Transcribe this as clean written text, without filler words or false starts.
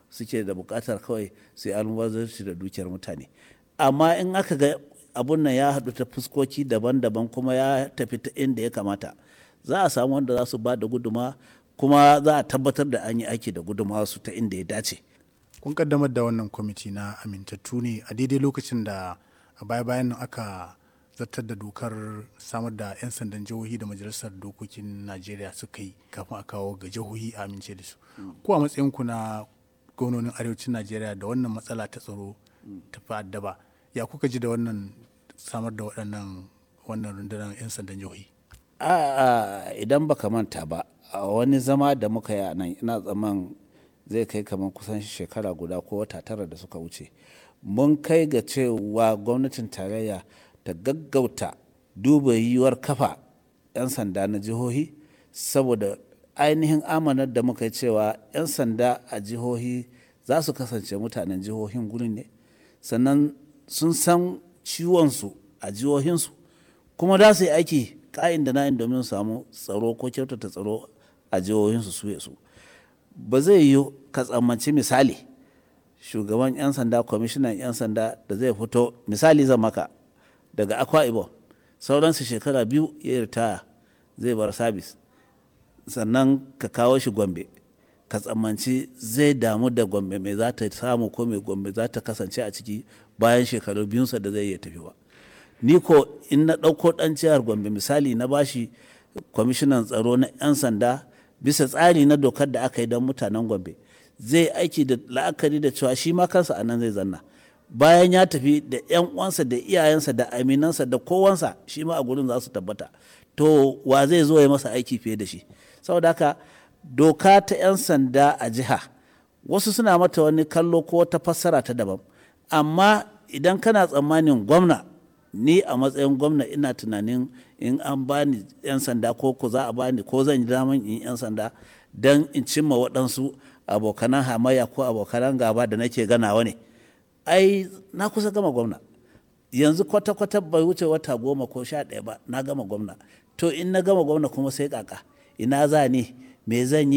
Suke da buƙatar kawai su yi almubazzaranci da dukiyar mutane. Amma in aka ga abun nan ya haɗu ta fuskoki daban-daban kuma ya tafi ta inda ya kamata, za a samu wanda za su ba da guduma, kuma za a tabbatar da an yi aiki da guduma su ta inda ya dace. Kun kaddamar da wannan kwamiti na amintattu ne a daidai lokacin da a baya-bayan nan aka zartar da dokar samar da 'yan sandan jihohi da Majalisar Dokokin Najeriya suka yi kafin a kawo ga jihohi a amince da su. Ko a matsayinku na gwamnonin arewacin Najeriya da wannan matsala ta tsaro ta fi addaba, ya kuka ji da wannan samar da waɗannan wannan rundunar 'yan sandan jihohi? A idan baka manta ba, a wani zama da muka yi a nan, ina tsaman zai kai kamar kusan shekara guda ko wata 9 da suka wuce, mun kai ga cewa gwamnatin tarayya ta gaggauta duba yiwuwar kafa 'yan sanda na jihohi, saboda ainihin amanar da muka yi cewa 'yan sanda a jihohi za su kasance mutanen jihohin gurin ne, sannan sun san ciwonsu a jihohinsu, kuma za su yi aiki ka'in da na'in domin su samu tsaro ko kyautata tsaro a jihohinsu su su. Ba zai yiwu ka tsammanci, misali, shugaban 'yan sanda, kwamishinan 'yan sanda da zai fito, misali zan maka, daga Akwa Ibom, sauransu shekara 2 ya ritaya zai bar sabis, sannan ka kawo shi Gombe, ka tsammanci zai damu da Gombe mai za ta samu ko mai Gombe za ta kasance a ciki bayan shekaru biyunsa da zai iya tafi ba. Ni ko in na ɗauko ɗan jihar Gombe, misali, na bashi kwamishinan tsaro na 'yan sanda bisa tsari na dokar da aka yi don mutanen Gombe, zai aiki da la'akari da cewa shi ma kansa a nan zai zanna. Bayan ya tafi, da 'yan uwansa da iyayensa da aminansa da kowansa, shi ma a gurin za su tabbata. To, wa zai zo ya masa aiki fiye da shi? Saboda haka, doka ta 'yan sanda a jiha, wasu suna mata wani kallo ko wata fassara ta daban. Amma idan kana tsammanin gwamna, ni a matsayin gwamna ina tunanin in an bani 'yan sanda ko za a bani ko zan yi daman in 'yan sanda don in cimma waɗansu abokanan hamayya ko abokanan gaba da nake ganawa ne. Ai na kusa gama gwamna. Yanzu kwata-kwata bai wuce wata 10 ko 11 ba na gama gwamna. To, in na gama gwamna kuma sai kaka, ina za ni, me zan yi?